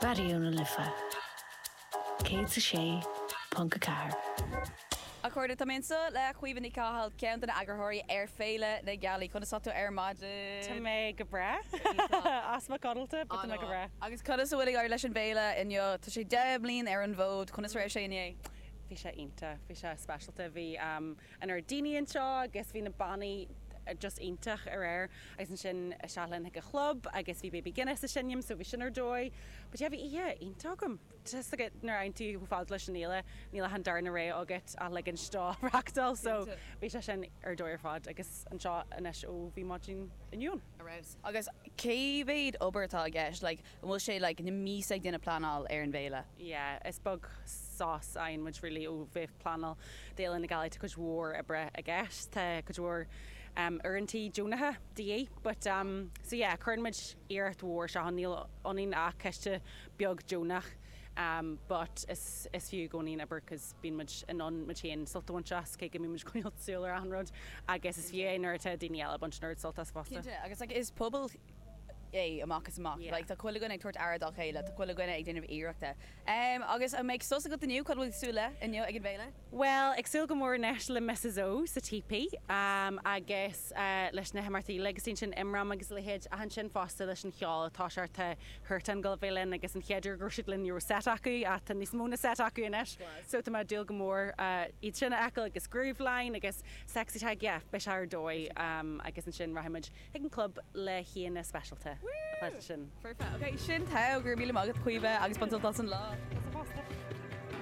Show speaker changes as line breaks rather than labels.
Raidió na Life 106.4.
A chairde, tá mé anseo le Caoimhe Ní Chathail, ceann de na eagarthóirí ar Féile na Gealaí. Conas tá tú ar maidin?
Tá mé go breá. Easpa codlata, but tá mé go breá.
Agus conas a bhfuil ag éirí leis an bhféile inniu? Tá sé 10 mbliain ar an bhfód. Conas a raibh sé inné?
Bhí sé iontach. Bhí sé speisialta. Bhí an oiread daoine anseo agus bhí na bannaí just iontach aréir agus ansin isteach linn chuig an chlub agus bhí Baby Guinness ag seinm so bhí sin ar dóigh. But yeah bhí oíche iontach agam. Tá 'fhios agat nuair a fhaigheann tú chomh fada leis an fhéile níl ach an darna rogha agat ach ligint dó reachtáil so bhí sé sin ar dóigh ar fad agus anseo anois ó bhí maidin inniu ann.
Ar fheabhas. Agus cé mhéad obair atá i gceist? Like an bhfuil sé like na míosa ag déanamh pleanáil ar an bhféile?
Yeah, is beag sos a fhaigheann muid really ó bheith ag pleanáil d'Fhéile na Gealaí. Tá cuid mhór oibre i gceist, tá cuid mhór uaireantaí deonacha de dhíth but um so yeah cuireann muid iarracht mhór isteach ann, níl ionainn ach coiste beag deonach um but is is fiú i gcónaí an obair cos bíonn muid in ann muid féin sult a bhaint as cé go mbíonn muid ag coinneáil súil ar achan rud agus is fiú é nuair atá daoine eile ag baint an oiread sult as fosta.
Cinnte, agus like is pobal é amach is amach. Like tá chuile dhuine ag tabhairt aire dá chéile, tá chuile dhuine ag déanamh iarrachta. Um agus an mbeidh sos agat inniu? Cad a bhfuil tú ag súil le inniu ag an bhféile?
Bhuel, ag súil go mór anois le Mrs O sa Teepee um agus eh leis na himeachtaí uilig agus ansin Imram agus a leithéid ach ansin fosta leis an cheol atá sé tá Huartan ag gabháil a bheith linn agus an chéad uair go raibh siad linn ní raibh set acu ach tá níos mó ná set acu anois so tá mé ag dúil go mór iad sin a fheiceáil agus Grooveline agus Sexy Tag yeah beidh sé ar dóigh agus ansin rachaidh muid chuig an club le haíonna speisialta sin.
Foirfe. Ok, sin togha, go raibh míle maith agat Caoimhe agus bain sult as an lá.
Tusa fosta.